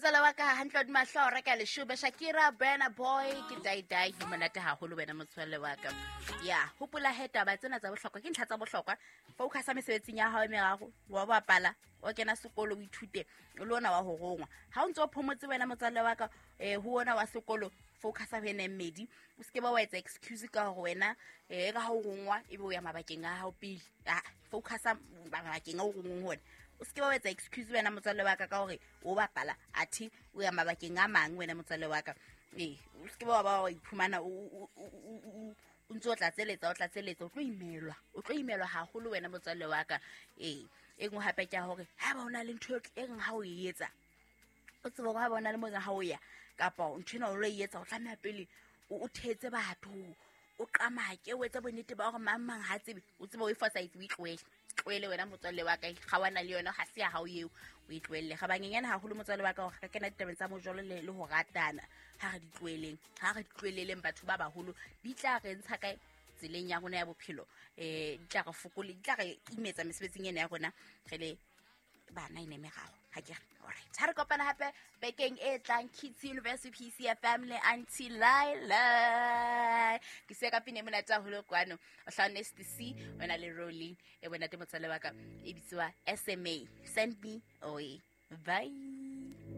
Motswala wa ka hantle wa dimahlo o reka leshome. Shakira, Burna Boy, ke dai dai ho monate haholo wena motswalle wa ka. Ya, hopola he taba tsena tsa bohlokwa ke ntlha tsa bohlokwa. Focusa mesebetsing ya hao e meraro, wa bapala, o kena sekolo o ithute, le ona wa ho rongwa. Ha o ntse o phomotse wena motswalle wa ka, ho ona wa sekolo focusa ho ena e mmedi. O seke ba wa etsa excuse ka hore wena ka ha o rongwa ebe o ya mabakeng a hao pele. Ah, focusa mabakeng a o rongweng hona. O seke ba wa etsa excuse wena motswalle wa ka ka hore o bapala athe o ya mabakeng a mang wena motswalle wa ka. Ee, o seke ba wa ba wa iphumana o ntse o tlatseletsa, o tlatseletsa, o tlo imelwa, o tlo imelwa haholo wena motswalle wa ka. Ee, e nngwe hape ke ya hore ha ba o na le ntho e reng ha o e etsa, o tsebe hore ha ba o na le moo ha o ya kapa ntho ena o lo e etsa, o tlameha pele o thetse batho, o qamake, o etse bonnete ba hore mang mang ha tsebe, o tsebe o e fosahetse, o e tlohele. Tlohele wena motswalle wa ka, ga wana le yona, ga se ya hao eo, o e tlohelle. Ga banyenyane haholo motswalle wa ka hore ka kena ditabeng tsa mojolo le ho ratana. Ha re di tloheleng, ha re di tloheleleng batho ba baholo, di tla re ntsha kae tseleng ya rona ya bophelo, di tla re fokole, di tla re imetsa mesebetsing ena ya rona re le bana e ne meraro. Ha ke re, alright, ha re kopana hape bekeng e tlang, Kids University PCFM le Auntie Laila. Ke se ka pine monate haholo kwano, o hlahone STC, wena le Rolling, e bonate motswalle wa ka, e bitswa SMA, send me away. Bye.